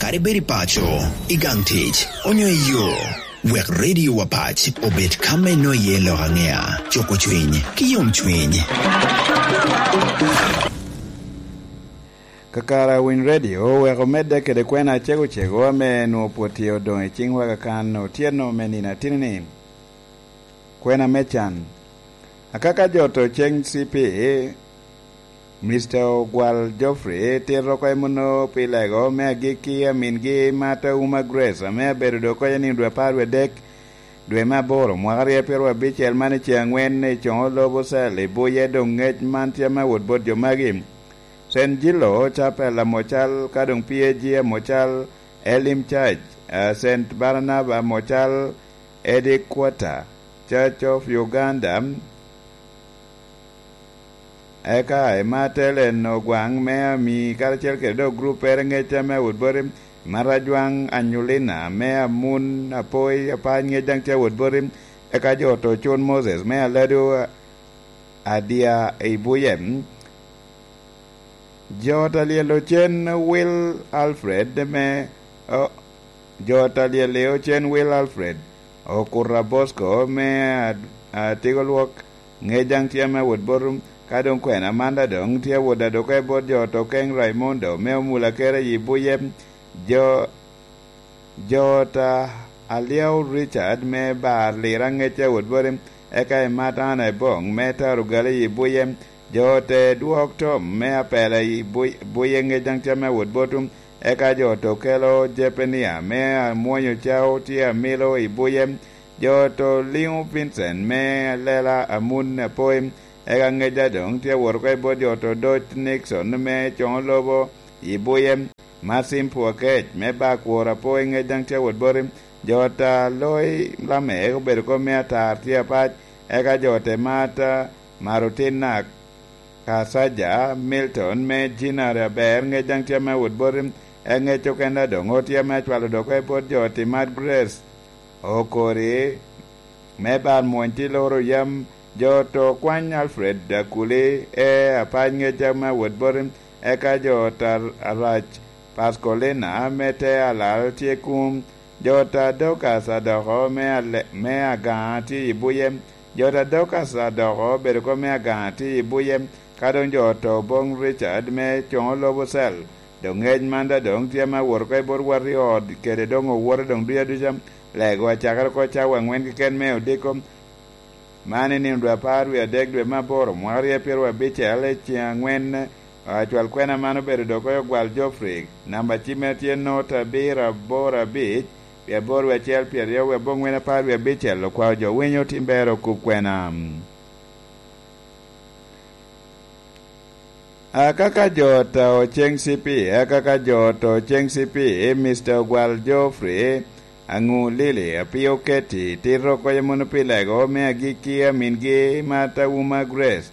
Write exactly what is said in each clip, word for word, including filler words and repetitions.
Kadi bed i paco, i gang tic, onyo i yo, wek Radio Wapac obed ka me no iye lok angea, cuko cwiny, ki yom cwiny. Kakara Winy Radio wek omedde kede kwena acego cego ame nwoŋo pwod tye odoŋ i ciŋ waka kan otyeno me nino atini-ni. Kwena me can. Akaka jo to ceŋ C P, Mister Ogwal Geoffrey tito oko i muno pi lego me agikki amingi Martha Uma Grace, ame abedo dok oko i nino dwe apar wie adek, dwe me aboro, mwaka aryo pyeraryo abicel man i ceŋ angwen i coŋo lobo cell i Buye. Doŋ ngec man tye ame awot bot jo magi: Saint Gillo Chapel Amocal, ka doŋ P A G Amocal, Elim Church, eh, Saint Barnaba Amocal, Eddie Quarter, Church of Uganda, eka Emma Telen Ogwaŋ me Ami, karacel kede dok gruppere ŋec ame awot boti, Marajwaŋ Anyulina me Amun Apoi, apac ŋec daŋ tye awot boti, eka jo to Cun Moses me Alado Adia i Buye. Jo ta lyel ocen Will Alfred me, o, jo ta lyel ocen Will Alfred, Okura Bosco me a-, Atigo Lwok, ŋec daŋ tye ame awot bot, ka doŋ kwena man daŋ doŋ tye awot adwoke bot jo to Keng Raimondo me Omula Kere i Buye. Jo Jo ta Alyau Richard me Bar Lira ŋec awot boti, eka i Matana i Boŋ me Tarugali i Buye. Jo te Dwok Tom me Apela i Buy-, Buye ŋec daŋ tye ame awot botu, eka jo to Kelo Jepenia me Amwonyo Cao tye amilo i Buye. Jo to Liŋo Vincent me Lela Amun Apoi, eka ŋec daŋ doŋ tye awot oko i bot jo to Doc Nixon me Coŋo Lobo i Buye. Martin Pwokec me Bakwor Apoi ŋec daŋ tye awot boti. Jo ta Loi Lamek obedo kop me atar tye apac, eka jo te Mata Marutina Kasaja Milton me Jinari Aber ŋec daŋ tye ame awot boti. Eŋec okenda doŋ otye ame acwalo dok i bot jo ti Mad Grace Okori me bar mwony ti loro yam. Jo to kwany Alfred Akuli e apac ŋec ame awot boti, eka jo ta Arac Pascolina me te Alal tye kun. Jo ta Dokas Adoko me Ale-, me Agaŋa tye i Buye. Jo ta Dokas Adoko obedo kop me Agaŋa tye i Buye. Ka doŋ jo to Boŋ Richard me Coŋo Lobo Cell, doŋ ŋec man daŋ doŋ tye ame awot oko i bot wot i ot, kede doŋ owote doŋ duc aduca. Lego acakere oko cawa aŋwen keken me odiko. Man i nino dwe apar wie adek dwe me aboro, mwaka aryo pyeraryo abicel, i ceŋ aŋwen, acwal kwena man obedo dok oko i Ogwal Geoffrey. Namba cimme tye not abiro aboro abic, wie aboro wie acel pyeraryo wie aboŋwen apar wie abicel. Okwao jo winyo tim ber okub kwena. Akaka jo ta oceŋ C P, akaka jo ta oceŋ C P, Mister Ogwal Geoffrey Aŋu Lili, apio keti, tito koyo mono pi lego me agikki amingi Martha Uma Grace,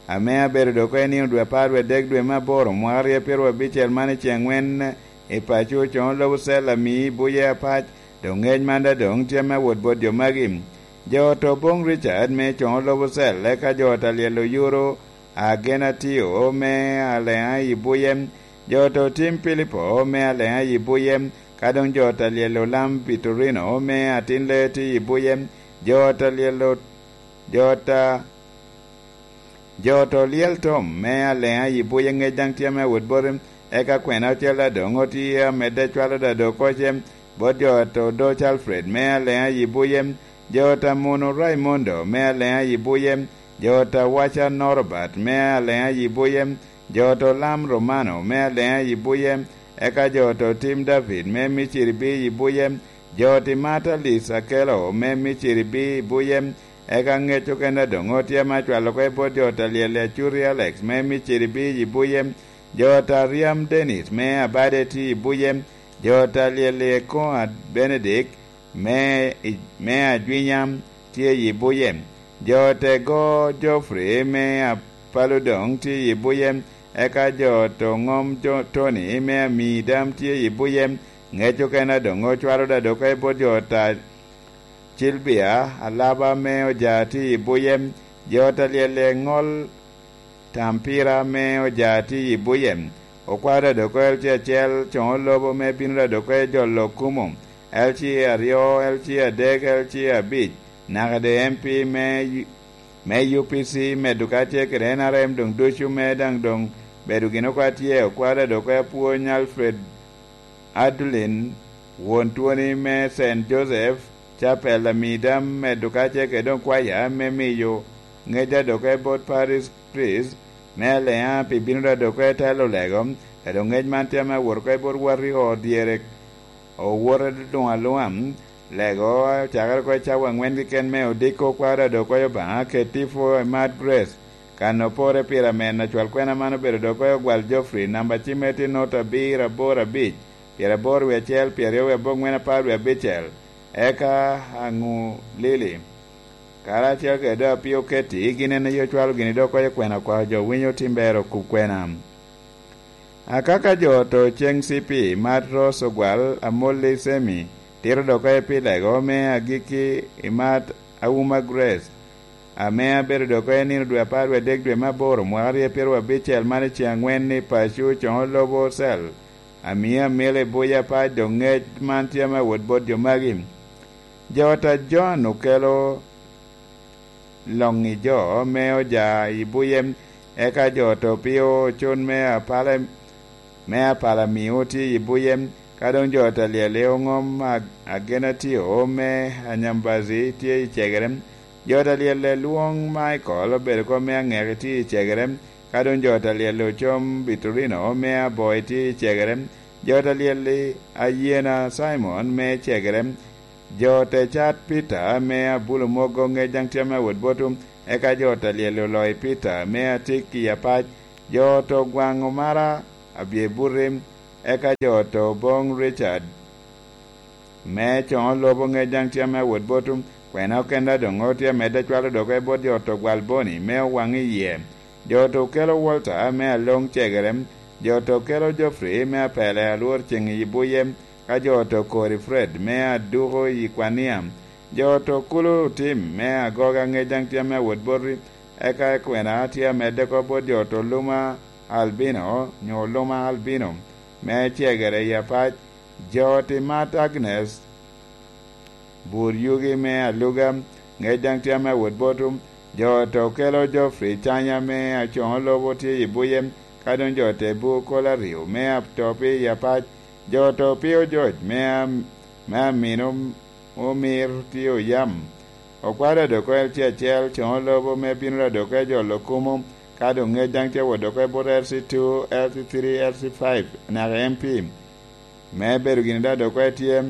ame abedo dok oko i nino dwe apar wie adek dwe me aboro, mwaka aryo pyeraryo abicel man i ceŋ aŋwen i paco Coŋo Lobo Cell ami i Buye apac, doŋ ŋec man daŋ doŋ tye ame awot bot jo magi. Jo ta Oboŋ Richard me Coŋo Lobo Cell, eka jo ta Lyel Oyuro, Agenatio me Aleŋa i Buye, jo ta Otim Pilipo me Aleŋa i Buye, ka doŋ jo ta Lyel Olam Vitorino me Atin Lee tye i Buye, jo ta Lyel O-, jo ta, jo ta Olyel Tom me Aleŋa i Buye ŋec daŋ tye ame awot boti, eka kwena ocel daŋ doŋ otye amedde cwalo daŋ doŋ koce, bot jo ta Odoc Alfred me Aleŋa i Buye, jo ta Muno Raimondo me Aleŋa i Buye, jo ta Waca Norbert me Aleŋa i Buye, jo ta Olam Romano me Aleŋa i Buye, eka jo ta Otim David me Miciri B i Buye, jo ti Mata Lis Akelo me Miciri B i Buye, eka ŋec okene doŋ otye ame acwalo oko i bot jo ta Lyel Acuri Alex me Miciri B i Buye, jo ta Riam Dennis me Abade tye i Buye, jo ta Lyel Ekoŋa Benedict me i, me Ajwinya tye i Buye. Jo te Go Geoffrey me Apalo doŋ tye i Buye, eka jo to Ŋom jo Tony me Ami daŋ tye i Buye. Ŋec okene doŋ ocwalo daŋ dok i bot jo ta Cilbia Alaba me Oja tye i Buye. Jo ta Lyel Eŋol Tampira me Oja tye i Buye. Okwaro Dadoko L C acel, Coŋo Lobo me bino Dadoko e jolo Okumu, L C aryo, L C adek, L C abic, naka de M P me, me U P C, medo kacel kede N R M doŋ ducu me daŋ doŋ bedo gin okwa tye. Okwaro Dadoko Apwony Alfred Adulin, won twoni me Saint Joseph Chapel, amida medo kacel kede doŋ kwaya me miyo ŋec Dadoko e bot Parish Priest me Aleŋa pi bino Dadoko e telo lego, kede ŋec man tye ame awot oko i bot wati ot dyere owote luŋ aluŋa. Lego ocakere oko i cawa aŋwen keken me odiko kwaro Dadoko i Obaŋa kede tipo i Mad Grace. Kan opore pire amen, acwal kwena man obedo Dadoko i Ogwal Geoffrey, namba cimme tye not abiro aboro abic, pyeraboro wie acel, pyeraryo wie aboŋwen, apar wie abicel. Eka aŋu Lili, karacel kede Apio Keti, gin en aye ocwalo gini dok okoyo kwena kwa jo winyo tim ber okub kwena. Akaka jo oto ceŋ C P, Mat Ros Ogwal, Amolli Semi, tito dok okoyo pi lego me agikki i Mat Auma Grace, ame abedo dok okoyo nino dwe apar wie adek dwe me aboro mwaka aryo pyeraryo abicel man i ceŋ aŋwen ni paco coŋo lobo cel. Amio amilo i buc apac dok ŋec man tye ame awot bot jo magi. Jo ota John okelo loŋ i jo me oja i buye, eka jo oto pio ocun me apale, me apala mio tye i buye, ka doŋ jo ota lyel i oŋom ag-, agenatio me anyambazi tye i cegere, jo ota lyel i lwoŋ Michael obedo kop me aŋeki tye i cegere, ka doŋ jo ota lyel i ocom Bitorino me aboi tye i cegere, jo ota lyel i ayena Simon me cegere, jo te cat Peter me abulo mogo ŋec daŋ tye ame awot boto, eka jo te lyel oloyo Peter me atik i apac, jo te gwaŋo mara abye buti, eka jo te boŋ Richard me coŋo lobo ŋec daŋ tye ame awot boto, kwena okenda doŋ otye amedde acwalo doge bot jo te gwal boni me owaŋ i yie. Jo te okelo Walter me aloŋ cegere, jo te okelo Geoffrey me apele alwor ceŋ i buye, ka jo te okori Fred me aduko i kwania, jo te okulo otim me agoga ŋec daŋ tye ame awot boti, eka kwena tye amedde oko bot jo te oluma Albino, nyo oluma Albino, me cegere i apac, jo te mat Agnes, bur yugi me aluga, ŋec daŋ tye ame awot boto, jo te okelo Geoffrey canya me acoŋo lobo tye i buye, ka doŋ jo te bu kolo aryo me atopi i apac, jo te opio George me am-, me amino omir tye oyam. Okwalo Dadoko L C acel, coŋo lobo me bino Dadoko e jolo kumo, ka doŋ ŋec daŋ tye awot doko i bot L C two, L C three, L C five, naka M P. Me bedo gini Dadoko etye,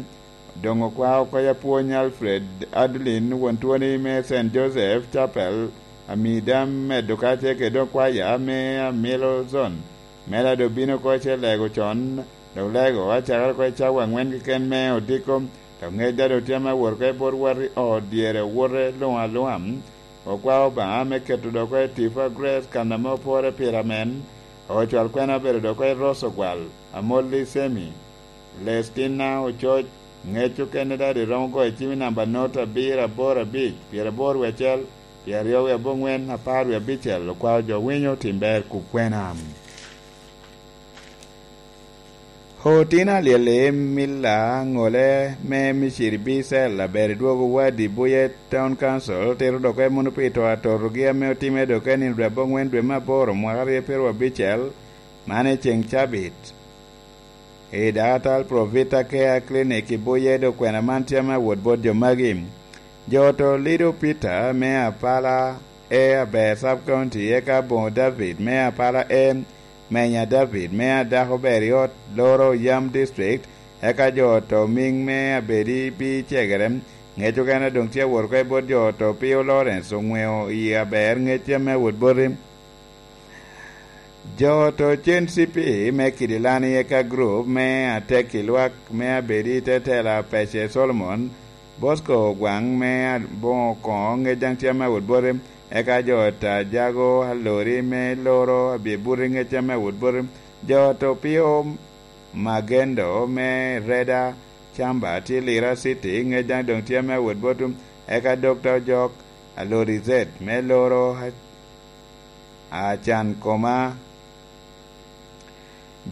doŋ okwao oko i apwony Alfred Adlin, won twoni me Saint Joseph Chapel, amida medo kacel kede doŋ kwaya me Amilo Zone. Mela doŋ bino oko i ce lego con, dok lego acakere oko i cawa aŋwen keken me odiko, dok ŋec daŋ doŋ tye ame awot oko i bot wati ot dyere owote luŋ aluŋa. Okwao Obaŋa me keto dok oko i tipo a Grace kan ame opore pire amen, ocwal kwena obedo dok oko i Ross Ogwal, Amolli Semi, Lestina Ococ, ŋec okene daŋ ri romo goyo cim i namba not abiro aboro abic, pyeraboro wie acel, pyeraryo wie aboŋwen, apar wie abicel, okwao jo winyo tim ber kub kwena. Otino alyel i Milla, ŋole me Miciri Bicel, aber i dwogo wadi Buye Town Council, tito dok en mono pi to atotogi ame otime dok en i dwe aboŋwen dwe me aboro mwaka aryo pyeraryo abicel, man i ceŋ cabit. I dakatal Provita Care Clinic i Buye dok kwena man tye ame awot bot jo magi. Jo oto Lido Peter me Apala E aber Sub County, eka Boŋo David me Apala E, Menya David me Adako ber i ot loro yam district, eka jo oto Miŋ me Abedi bi cegere, ŋec okene doŋ tye awot oko i bot jo oto Pio Lawrence oŋweo i aber ŋec tye ame awot boti. Jo oto cen C P me Kidilani eka group me atek i lwak me Abedi te tela Pece Solomon, Bosco Ogwaŋ me Aboŋo Koŋo ŋec daŋ tye ame awot boti, eka jo oto Ajago Alori me Loro abye buti ŋec tye ame awot boti, jo oto Pio Magendo me Reda Camba tye Lira City ŋec daŋ doŋ tye ame awot boti, eka Dokta Ojok Alori Zet me Loro a-, Acan Koma.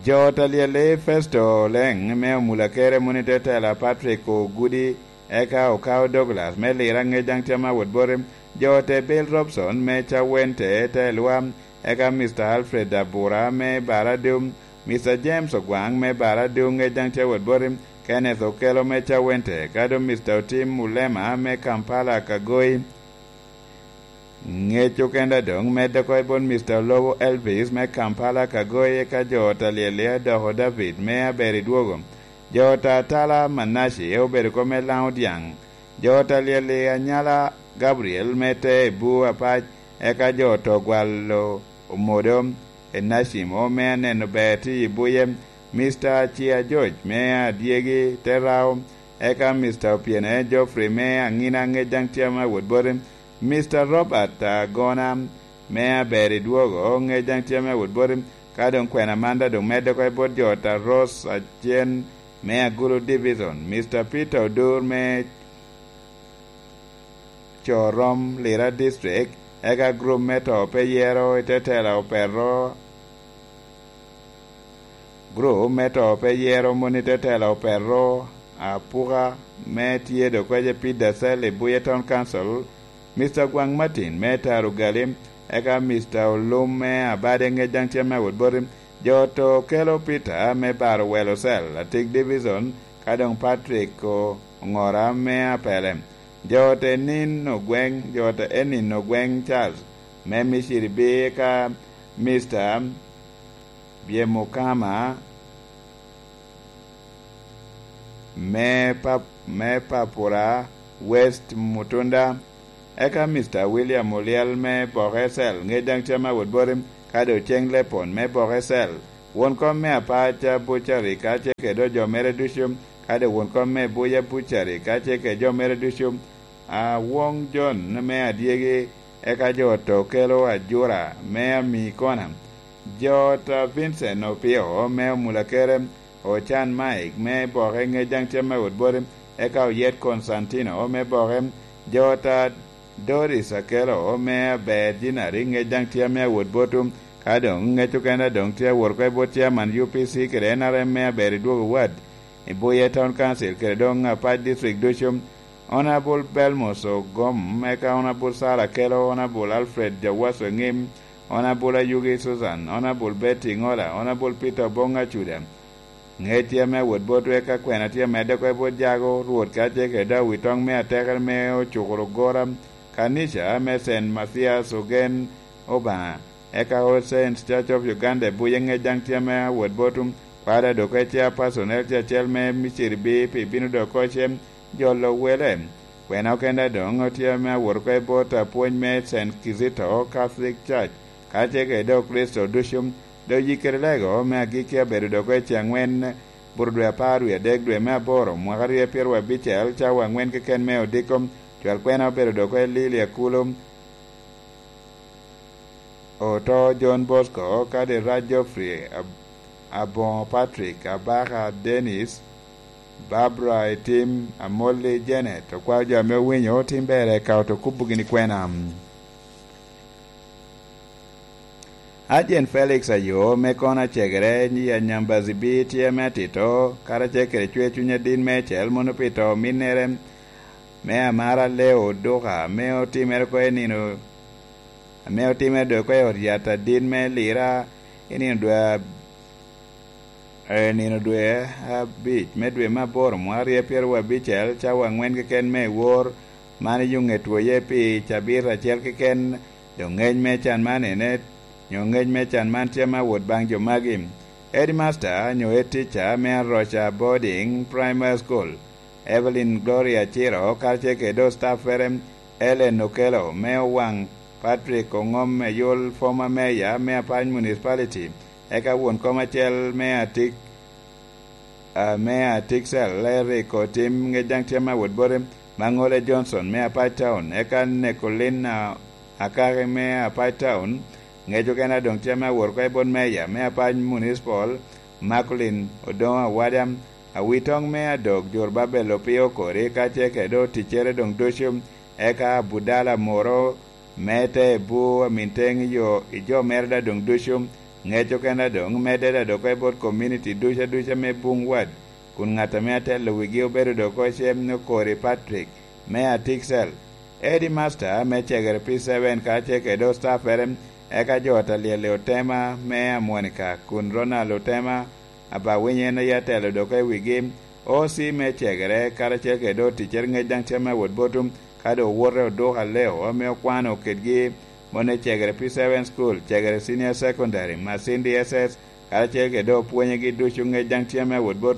Jo ot a Lyel-li, Festo Oleŋ me Omulakere, Munite Tela Patrick Ogudi, eka Okao Douglas me Lira, Ŋec daŋ tye me awot boti. Jo ot a Bill Robson me Cawente te Lwa, eka Mister Alfred Abura me Baradu, Mister James Ogwaŋ me Baradu, Ŋec daŋ tye awot boti. Kenneth Okelo me Cawente, ka doŋ Mister Otim Ulema me Kampala Kagoi. Ŋec okenda doŋ medde oko i bot Mister Olobo Elvis me Kampala Kagoi, eka jo ot a Lyel-li, Adoko David me Aber i Dwogo. Jo ot a Tala Manaci obedo oko me Laŋo Dyaŋ. Jo ot a Lyel-li, Anyala Gabriel me Te i Bur Apac, eka jo ot a Ogwalo Omodo, Enacimo me Aneno Ber tye i Buye, Mister Acia George me Adyegi te Rao, eka Mister Opiene Geoffrey me Aŋina, Ŋec daŋ tye me awot boti, Mister Robert Agona me Aber i Dwogo, Ŋec daŋ tye me awot boti. Ka doŋ kwena man daŋ doŋ medde oko i bot jo ot a Rose Acen me Agulu Division, Mister Peter Odur me Corom, Lira District, eka gurup me To Pe Yero i te tela Opero, gurup me To Pe Yero Moni te tela Opero Apuka me tye dokwece Pete Dacel i Buye Town Council, Mister Gwaŋ Martin me Taro Gali, eka Mister Olum me Abade, Ŋec daŋ tye me awot boti. Jo to kelo Peter me Baro Welo Cell, Atik Division, ka doŋ Patrick O-, Oŋora me Apele. Jo ot a Enin Ogweŋ, jo ot a Enin Ogweŋ Charles me Miciri B, eka Mister Byemukama me Pap-, me Papura West Mutunda, eka Mister William Olyel me Boke Cell, Ŋec daŋ tye me awot boti, ka doŋ Ceng Lepon me Boke Cell, won kom me Apaca Bucari, ka ce kede jo mere ducu, ka doŋ won kom me Buya Bucari, ka ce kede jo mere ducu, Awoŋ Jon me Adyegi, eka jo ot a Okelo Ajura me Amikona, jo ot a Vincent Opio me Omulakere, Ocan Mike me Boke, Ŋec daŋ tye me awot boti, eka Oyet Constantino me Boke, jo ot a Doris Akelo me Aber Jinari, Ŋec daŋ tye me awot boti, ka doŋ Ŋec okene doŋ tye awot oko i bot chairman U P C kede N R M me Aber i Dwogo Ward, i Buye Town Council kede doŋ Apac District ducu. Honorable Belmos Ogom, eka Honorable Sarah Kelo, Honorable Alfred Jawaso Eŋim, Honorable Ayugi Susan, Honorable Betty Ŋola, Honorable Peter Oboŋ Acuda. Ŋec tye me awot botwu, eka kwena tye medde oko i bot Jago, Rwot ka ce kede Awitoŋ me Atekere me Ocukuro Gora, Kanica me Saint Mathias Ogen Obaŋa, eka All Saints Church of Uganda i Buye, Ŋec daŋ tye me awot botwu. Kwada dok ece a personel tye acel me Miciri B P bino dok oko cem jolo wele. Kwena okenda doŋ otye me awot oko i bot apwony me Saint Kizito Catholic Church, ka ce kede Okristo ducu. Dok yikere lego me agikki abedo dok ece aŋwen, buto dwe apar wie adek dwe me aboro, mwaka aryo pyeraryo abicel, cawa aŋwen keken me odiko. Cwal kwena obedo dok oko i Lili Akulu. Oto John Bosco, Kadira Geoffrey, Ab-, Aboŋo Patrick, Abaka Dennis, Barbara Etim, Amolli Janet, okwao jo ame owinyo, tim ber eka oto kubo gini kwena. Ajen Felix Ayo, me kono acegere, i Anyambazi B tye me atito, karacel kede cwer cuny adit meicel, mono pi to minnere, me amara Leo Oduka, me otimere oko i nino ame otimme dwe oko i ot yat adit me Lira i nino dwe ab-, i nino dwe abic me dwe me aboro, mwaka aryo pyeraryo abicel, cawa aŋwen keken me wor, man i Yuŋet Woye pi cabit acel keken, dok ŋec me can man ene, nyo ŋec me can man tye me awot baŋ jo magi. Headmaster nyo head teacher me Aroca Boarding Primary School, Evelyn Gloria Ciro, karacel kede staffere, Ellen Okello me Owaŋ, Patrick Oŋom Eyul, former mayor me Apac Municipality, eka won kom acel me Atik, ah, me Atik Cell, Eric Otim, ŋec daŋ tye me awot bote, Maŋole Johnson me Apac Town, eka Nekolin, ah, Akaki me Apac Town, ŋec okene a doŋ tye me awot oko i bot mayor me Apac Municipal, Macolin Odoŋo Awadam, Awitoŋ me Adok, Jor Babel Opio Kori, ka ce kede oticcere doŋ ducu, eka Abudala Moro me Te Ebu, Aminteŋ yo i jo mere da doŋ ducu, Ŋec okene doŋ medde doŋ oko i bot komuniti ducu aduca me Buŋ Wad, kun ŋat ame atelo wigi obedo doŋ oko cem ni Okori Patrick, me Atiksel. Edi Masta me cegere P seven karacel kede ostappere, eka jo Atalyel i Otema me Amwonika, kun Ronald Otema Abawiny en aye atelo doŋ oko i wigi. O C me cegere karacel kede oticcere ŋec daŋ tye me wot bot, ka doŋ owote oduko aleo ame okwano kedgi moni cegere P seven School, cegere Senior Secondary, Masindi S S, karacel kede opwonyegi ducu ŋec daŋ tye me wot bot.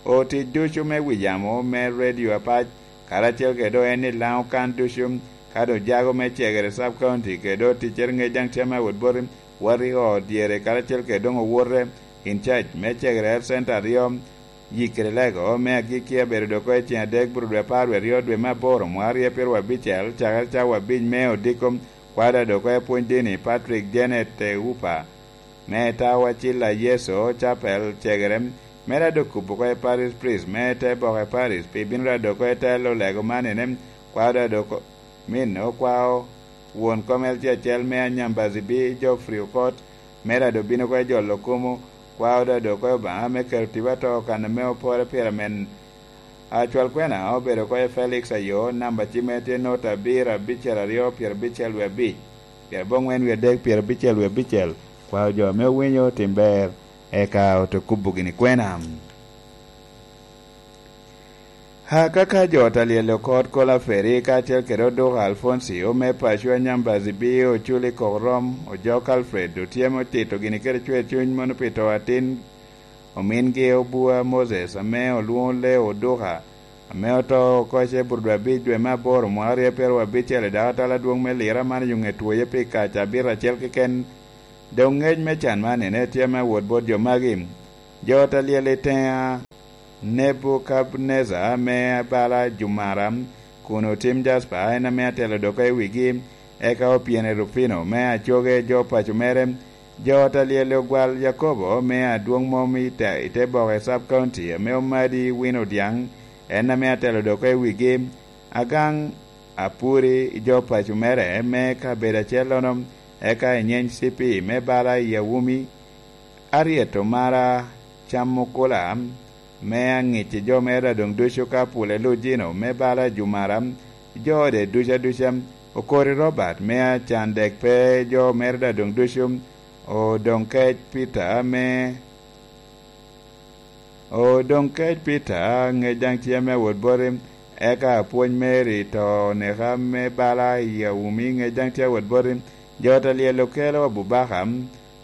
Otic ducu me wi yamo me redio apac, karacel kede en i Laŋo kan ducu, ka doŋ jago me cegere Sub County kede oticcere ŋec daŋ tye me wot bot, wot i ot dyere karacel kede doŋ owote in charge me cegere Health Center aryo, Yikere Lego me agikki abedo doŋ oko i ceng adek bur dwe apar wie aryo dwe me aboro mwaka aryo pyeraryo abicel, cakere cawa abic me odiko, kwada doŋ oko i pwony dini Patrick Janet Teupa, me Tawa Cilla Yeso Chapel cegere, me rado kubo oko i Parish Priest me te boke Parish, pi bino rado oko i telo lego manine, kwada doŋ oko min okwao won kom L C acel me Anyambazi B Geoffrey Okot, me rado bino oko i jolo kumo, kwao doŋ oko i Obaŋa me keto tipo ato kan ame opore pire amen. Acwal kwena obedo oko i Felix Ayo, namba cimme tye nota abiro abicel aryo pyerabicel wie abic, pyeraboŋwen wie adek pyerabicel wie abicel, kwao jo ame owinyo otim ber, eka ote kubo gini kwena. Akaka jo Talyel Okot Kola Feri kacel kede Oduka Alfonsi ome paco Anyambazi B Oculi Kok Rom, Ojok Alfred, otyemo tito gini kede cwer cuny mono pi to atin omingi Obua Moses ame olwoŋo Leo Oduka, ame oto oko i Ceburdu abic dwe me aboro mwaka aryo pyeraryo abicel i dako atala adwoŋ me Lira man i ŋe twoye pi kaca abiro acel keken. Doŋ ŋec me can man ene tye me wot bot jo magi. Jo Talyel i Teŋa, Nebukadnezzar ame bala Jumara, kun otim Jaspa, en ame atelo doŋ oko i wigi, eka opyene Rufino me acoge jo paco mere, jo Talyel ogwal Yakobo me adwoŋ mom i te, i te boke Sub County ame omadi wino dyaŋ, en ame atelo doŋ oko i wigi, Agaŋ Apuri i jo paco mere me kabedo acellono, eka i nyeny C P me bala i Awumi, Aryeto Mara Camukula, me aŋic i jo mere adoŋ ducu ka pule Lujino me bala Jumara, jo ode ducu aduca, Okori Robert me acan dek pe jo mere adoŋ ducu, Odoŋkec Peter me, Odoŋkec Peter ŋec daŋ tye me wot boti, eka apwony Mary to oneka me bala i Awumi ŋec daŋ tye wot boti, jo Talyel Okelo Abubaka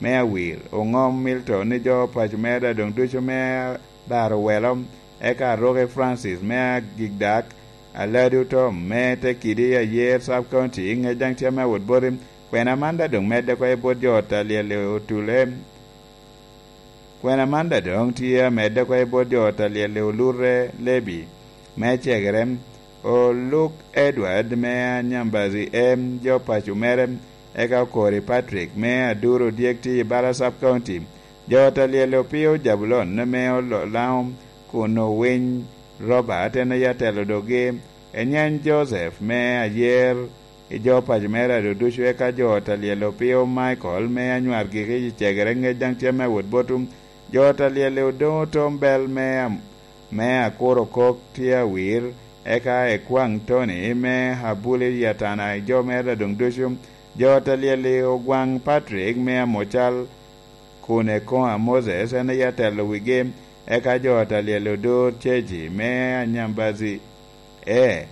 me Awir, Oŋom Milton ni jo paco mere adoŋ ducu me Baro Welo, eka Aroke Francis me Agikdak, Aladu Tom me Tekidi Ayer Sub County ŋec daŋ tye me wot boti, kwena man daŋ doŋ medde oko i bot jo Talyel Otule. Kwena man daŋ doŋ tye amedde oko i bot jo Talyel Olurre Lebi me Cegere, Oluk Edward me Anyambazi M, jo paco mere, eka Okori Patrick me Aduro Dyek tye i bala Sub County. Jo Talyel Opio Jabulon me Olo-, Laŋo kun Owiny Robert en aye atelo dogi, Enyany Joseph me Ayer, i jo paco mere aduducu, eka jo Talyel Opio Michael me Anywar Giki i Cegere ŋec daŋ tye me wot botu. Jo Talyel Odoŋo Tom Bel me Am-, me Akuro Kok tye Awir, eka Ekwaŋ Tony me Abuli Yatana i jo mere adoŋ ducu. Jo Talyel Ogwaŋ Patrick me Amocal kun Ekoŋa Moses en aye atelo wigi, eka jo Talyel Odur Ceji me Anyambazi. E,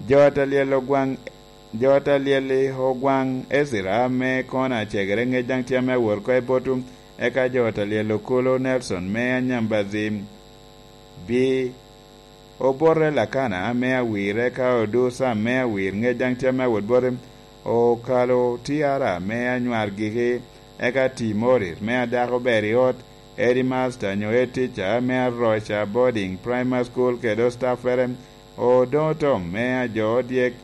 jo Talyel Ogwaŋ, jo Talyel Ogwaŋ Ezra me Kona Cegere ŋec daŋ tye ame awor oko i botu, eka jo Talyel Okolo Nelson me Anyambazi. Bi Obote Lakana me Awir, eka Odur Sam me Awir ŋec daŋ tye ame awot bote, Okalo Tiara me Anywar Giki, eka Timorit me Adako Ber i Ot, Edi Masta nyo Ed Tica me Aroca Boarding Primary School kede ostappere, Odoŋo Tom me Ajo Odyek,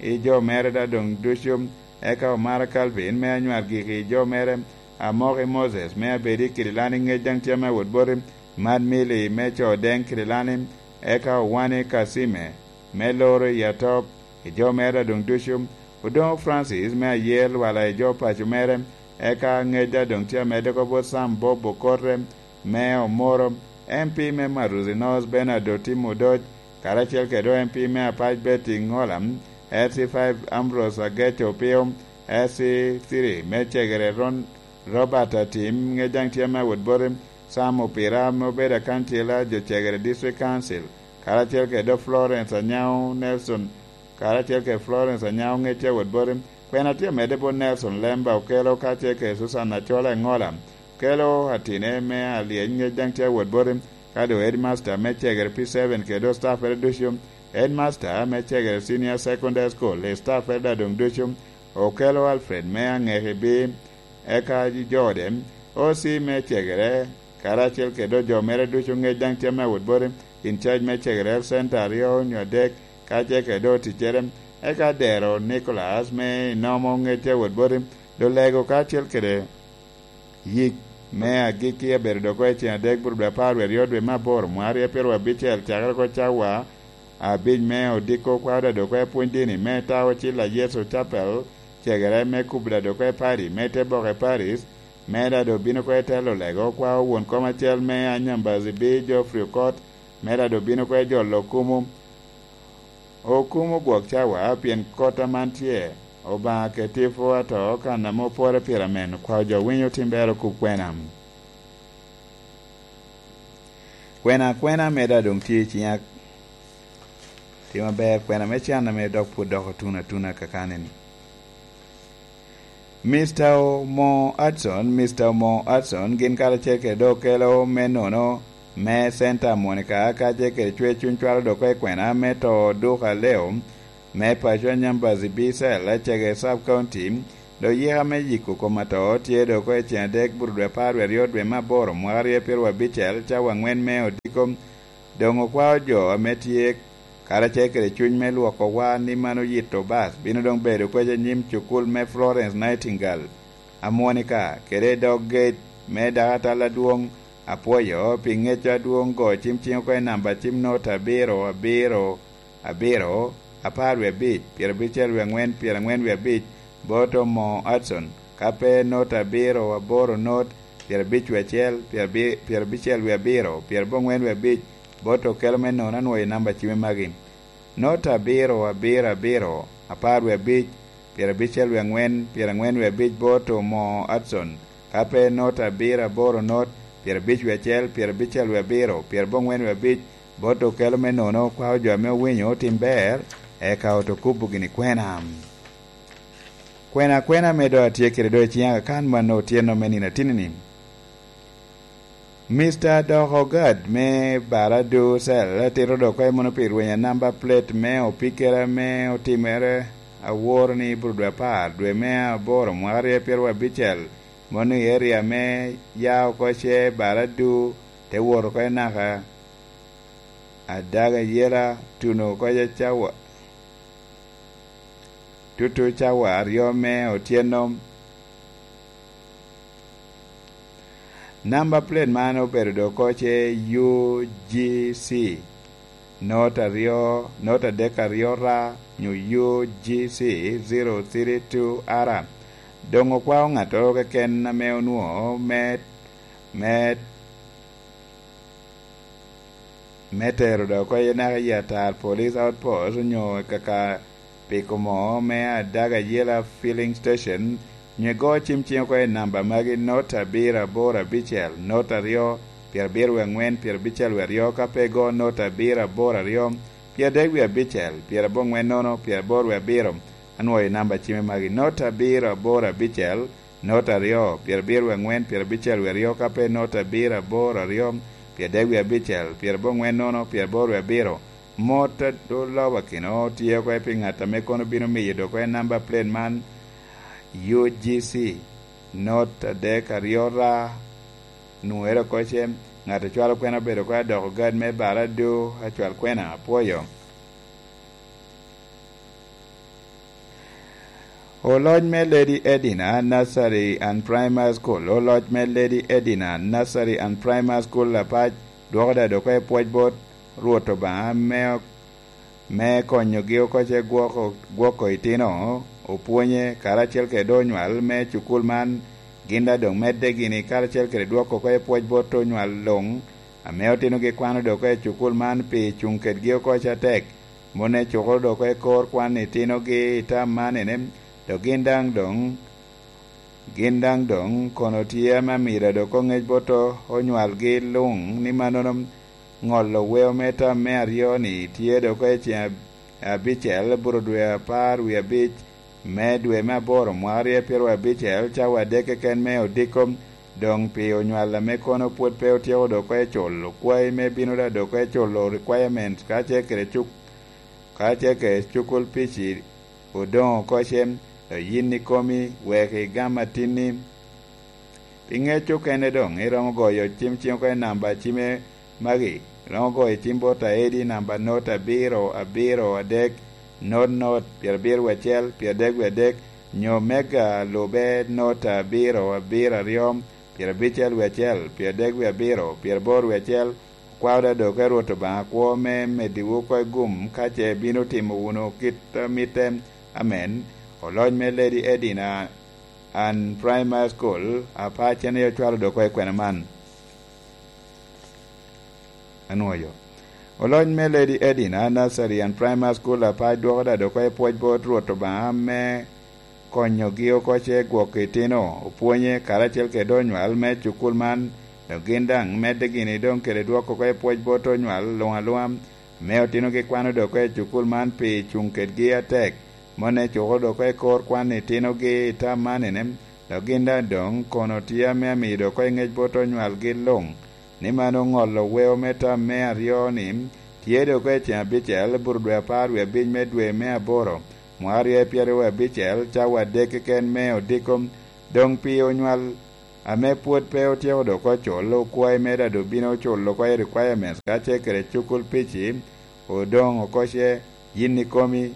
i jo mere da doŋ ducu, eka Omara Calvin me Anywar Giki i jo mere, Amoki Moses me Abedi Kidilani ŋec daŋ tye ame awot bote, Mad Mili me Co Deŋ Kidilani, eka Owani Kasime me Loro i Atop i jo mere da doŋ ducu, Odoŋo Francis me Ayer Lwala i jo paco mere, Eka ŋec a doŋ tye amedde oko bot Sam Bob Okote me Omoro, M P me Maruzi North Bernard Otim Odoc, karacel kede M P me Apac Betty Ngola, S C five Ambrose Agec Opio, S C three me Cegere Ron Robert Atim, ŋec daŋ tye me Awot Boti Sam Opira ame obedo akancila jo Cegere District Council, karacel kede Florence Anyao Nelson, karacel kede Florence Anyao ŋec tye Awot Boti. Kwena tye amedde bot Nelson Lemba Okelo kacel kede Susan Acola Engola, Okelo atine me alyec ŋec daŋ tye Awot Boti, ka doŋ headmaster me Cegere P seven kede staffere ducu, headmaster me Cegere Senior Secondary School, staffere daŋ doŋ ducu, Okelo Alfred me Aŋeki B, eka jo ode, O C me Cegere, karacel kede jo mere ducu ŋec daŋ tye me Awot Boti, in charge me Cegere Health Center aryo nyo adek, kacel kede oticcere, eka Dero Nicholas me Inomo ŋec tye Awot Boti, Lulego kacel kede yik me agikki abedo dok oko i ceng adek bur dwe apar wie aryo dwe me aboro mwaka aryo pyeraryo abicel, cakere oko cawa abic me odiko kwaro daŋ dok oko i pwony dini me Tawo Cilla Yecu Chapel, Cegere me Kubra dok oko i Pari me te boke Paris, me daŋ dok bino oko i te Lulego kwao won kom acel me Anyambazi B Geoffrey Okot, me daŋ dok bino oko i jolo okumu. Okumo gwok cawa pien kot aman tye, Obaŋa ke tipo ato kan ame opore pire amen, okwao jo winyo tim bero kub kwena. Kwena, kwena ame daŋ doŋ tye i ciŋa, tim aber, kwena me can ame dok pwod dok otuno atuna kakani-ni. Mister Omo Hudson, Mister Omo Hudson gin karacel kede dok okelo me nono me Center Monica kacel kede cwer cuny cwalo dok oko i kwena me to Duka Leo me paco Anyambazi B Cell, Acege Sub County, dok yika me yiko kom ato tye dok oko i ceng adek bur dwe apar wie aryo dwe me aboro mwaka aryo pyeraryo abicel cawa angwen me odiko. Doŋ okwao jo ame tye karacel kede cuny me lwokowa ni man oyito bas bino doŋ bedo kwec anyim cukul me Florence Nightingale, Amonica, kede i dog gate me dakatal adwoŋ. Apwoyo pi ŋec adwoŋ go cim ciŋ oko i namba cim nota abiro, abiro, abiro, apar wie abic, pyerabicel wie aŋwen, pyerangwen wie abic, bot Omo Hudson, ka pe nota abiro, aboro not, pyerabic wie acel, pyerabi-, pyerabicel wie abiro, pyerabongwen wie abic, bot okelo me nono anwoyo i namba cime magi. Nota abiro, abiro, abiro, apar wie abic, pyerabicel wie aŋwen, pyerangwen wie abic bot Omo Hudson, ka pe nota abiro, aboro not, pyerabic wie acel, pyerabicel wie abiro, pyerabongwen wie abic, bot okelo me nono kwao jo ame owinyo otim ber, eka oto kubo gini kwena. Kwena, kwena ame doŋ atye kede doŋ i ciŋa kan man otyeno me nino atinni-ni. Mister Doko Gad me Baradu Cell tito dok oko i mono pi rwenya namba plate me opikere ame otimere aworo ni bur dwe apar, dwe me aboro, mwaka aryo pyeraryo abicel, mono i area me ya oko ce Baradu, te wot oko i naka Adaga Yela, tuno oko i cawa, tutu cawa aryo me otyeno. Namba plate man obedo dok oko ce U G C, not aryo, not adek aryo ra, nyo U G C zero three two R. Doŋ okwao ŋattoro keken ame onwoŋo me, me me tero dok oko i naka i Atar Police Outpost onyo i kaka piko moo me Adaga Yela Filling Station, nyo igo cim ciŋ oko i namba magi: not abiro aboro abicel, not aryo, pyerabiro wie aŋwen, pyerabicel wie aryo, ka pe igo not abiro aboro aryo, pyeradek wie abicel, pyerabongwen nono, pyeraboro wie abiro, anwoyo i namba cime magi: not abiro aboro abicel, not aryo, pyerabiro wie aŋwen, pyerabicel wie aryo, ka pe not abiro aboro aryo, pyeradek wie abicel, pyerabongwen nono, pyeraboro wie abiro. Mot a olobo akino tye oko pi ŋat ame kono bino miyo dok oko namba plate man: U G C, not adek aryo ra. Nwoŋere oko ce ŋat acwalo kwena obedo oko adoko gad me Baradu acwal kwena. Apwoyo. Oloc me Lady Edina Nursery and Primary School, oloc me Lady Edina Nursery and Primary School Apac dwoko da dok i pwoc bot Rwot Obaŋa me, me konyogi oko ce gwoko, gwoko itino opwonye karacel kede onywal me cukul man, Gin daŋ doŋ medde gini karacel kede dwoko oko i pwoc bot onywal luŋ, ame otinogi kwano dok oko i cukul man pi cuŋ kedgi oko atek. Mone cukoro dok oko i kor kwan itinogi i tam man ene, dok gin daŋ doŋ, gin daŋ doŋ kono tye ame amiro dok oŋec bot onywalgi luŋ ni mannono ŋolo weo me tam me aryo-ni tye dok oko i ceŋ abicel, buro dwe apar wie abic me dwe me aboro, mwaka aryo pyeraryo abicel, cawa adek keken me odiko, doŋ pi onywal ame kono pwod pe otyeko dok oko i culo kwayi me bino daŋ dok oko i culo requirement, ka ce kede cuk-, ka ce kede cukul pici odoŋ oko cen, oyin ikomi, wek igam atinni. Pi ŋec okene doŋ, iromo goyo cim ciŋ oko i namba cime magi, iromo goyo cim bot aedi namba not abiro abiro adek, not not, pyerabiro wie acel, pyeradek wie adek, nyo mega lube not abiro abiro aryo, pyerabicel wie acel, pyeradek wie abiro, pyeraboro wie acel. Okwao daŋ dok oko i Rwot Obaŋa kwo me meddiwu oko i gum, ka ce bino timo wunu kit a mitte. Amen. Oloc me Lady Edina and Primary School, Apac, en aye ocwalo dok oko i kwena man. Anwoyo. Oloc me Lady Edina Nursery and Primary School, Apac, dwoko daŋ dok oko i pwoc bot Rwot Obaŋa me konyogi oko ce gwok itino, opwonye karacel kede onywal me cukul man, dok gin daŋ medde gini doŋ kede dwoko oko i pwoc bot onywal luŋ aluŋa, me otinogi kwano dok oko i cukul man pi cuŋ kedgi atek. Mone cukoro dok oko i kor kwan itinogi i tam man ene, dok gin daŋ doŋ kono tye ame amio dok oko i ŋec bot onywalgi luŋ, ni man oŋolo weo me tam me aryo-ni tye dok oko i ceŋ abicel, buro dwe apar wie abic me dwe me aboro, mwaka aryo pyeraryo wie abicel, cawa adek keken me odiko. Doŋ pi onywal ame pwod pe otyeko dok oko culo, okwayi me daŋ doŋ bino culo oko i requirements, ka ce kede cukul pici odoŋ oko ce, yin ikomi,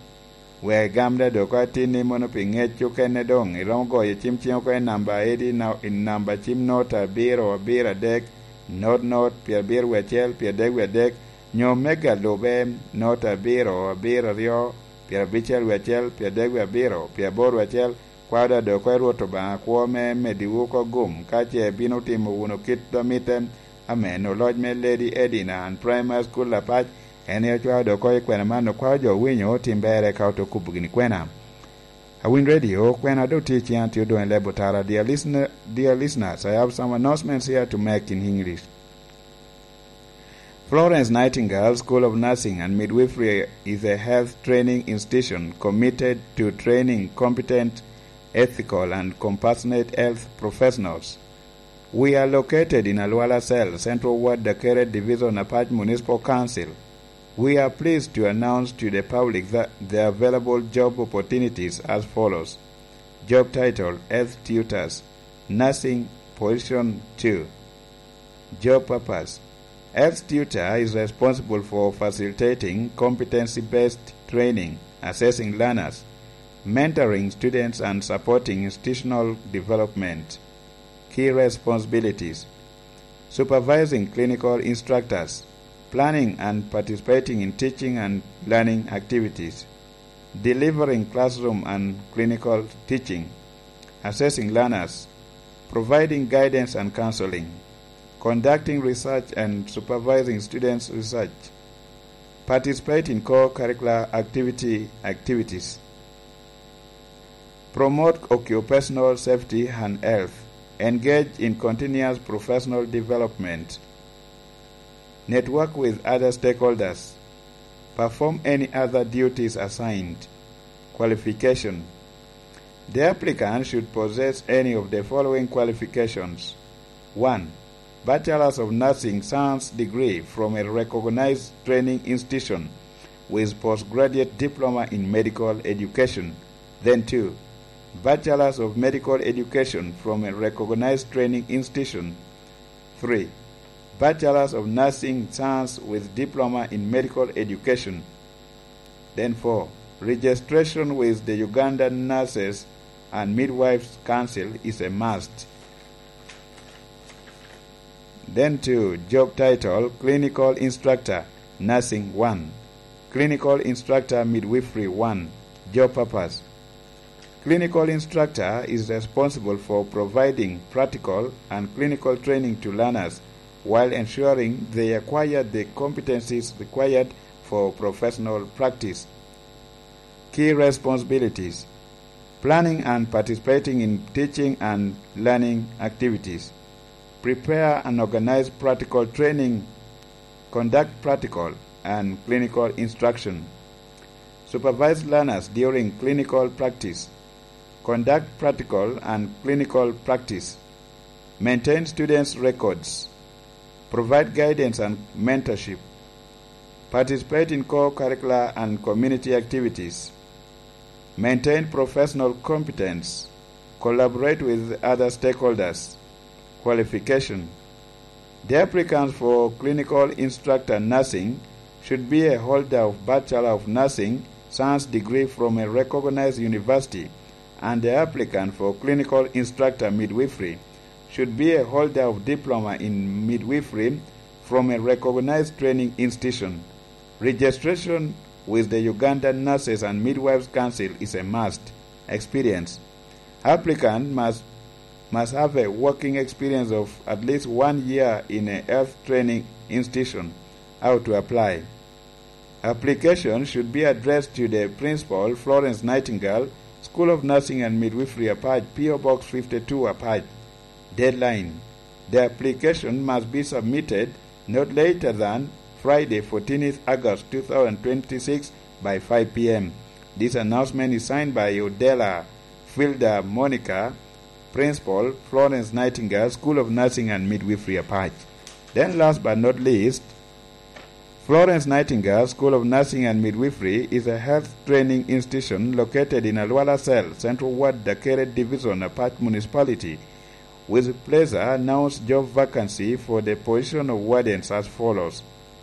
wek igam daŋ dok oko atinni. Mono pi ŋec okene doŋ iromo goyo cim ciŋ oko i namba edi na-, i namba cim not abiro abiro adek, not not, pyerabiro wie acel, pyeradek wie adek, nyo mega lube, not abiro abiro aryo, pyerabicel wie acel, pyeradek wie abiro, pyeraboro wie acel. Kwao daŋ dok oko i Rwot Obaŋa kwo me meddiwu oko gum, ka ce bino timo wunu kit a mitte. Amen. Oloc me Lady Edina and Primary School, Apac, en aye ocwao dok oko i kwena man, okwao jo owinyo otim berre ka ote kubo gini kwena. Awin Radio, kwena doŋ tye i ciŋa, tye odoŋ i leb otara. Dear listener, dear listeners, I have some announcements here to make in English. Florence Nightingale School of Nursing and Midwifery is a health training institution committed to training competent, ethical, and compassionate health professionals. We are located in Alwala Cell, Central Ward, Dakere Division, Apac Municipal Council. We are pleased to announce to the public that the available job opportunities as follows. Job title: Health Tutors, Nursing, Position two. Job purpose: Health tutor is responsible for facilitating competency-based training, assessing learners, mentoring students, and supporting institutional development. Key responsibilities: supervising clinical instructors, planning and participating in teaching and learning activities, delivering classroom and clinical teaching, assessing learners, providing guidance and counseling, conducting research and supervising students' research, participate in co-curricular activity activities, promote occupational safety and health, engage in continuous professional development, network with other stakeholders, perform any other duties assigned. Qualification: the applicant should possess any of the following qualifications. One, Bachelor's of Nursing Science degree from a recognized training institution with postgraduate diploma in medical education. Then two, Bachelor's of Medical Education from a recognized training institution. Three, Bachelor's of Nursing Science with diploma in medical education. Then four, registration with the Uganda Nurses and Midwives Council is a must. Then two, job title, Clinical Instructor, Nursing one. Clinical Instructor, Midwifery one. Job purpose: Clinical instructor is responsible for providing practical and clinical training to learners while ensuring they acquire the competencies required for professional practice. Key responsibilities: planning and participating in teaching and learning activities, prepare and organize practical training, conduct practical and clinical instruction, supervise learners during clinical practice, conduct practical and clinical practice, maintain students' records, provide guidance and mentorship, participate in co-curricular and community activities, maintain professional competence, collaborate with other stakeholders. Qualification: the applicants for clinical instructor nursing should be a holder of Bachelor of Nursing Science degree from a recognized university, and the applicant for clinical instructor midwifery should be a holder of diploma in midwifery from a recognized training institution. Registration with the Uganda Nurses and Midwives Council is a must. Experience: applicant must must have a working experience of at least one year in a health training institution. How to apply: application should be addressed to the principal, Florence Nightingale, School of Nursing and Midwifery, Apac, P O Box fifty-two, Apac. Deadline: the application must be submitted not later than Friday, fourteenth August two thousand twenty-six, by five p.m. This announcement is signed by Odela Filda Monica, Principal, Florence Nightingale School of Nursing and Midwifery, Apac. Then, last but not least, Florence Nightingale School of Nursing and Midwifery is a health training institution located in Alwala Cell, Central Ward, Dakere Division, Apac Municipality, with pleasure announce job vacancy for the position of wardens as follows.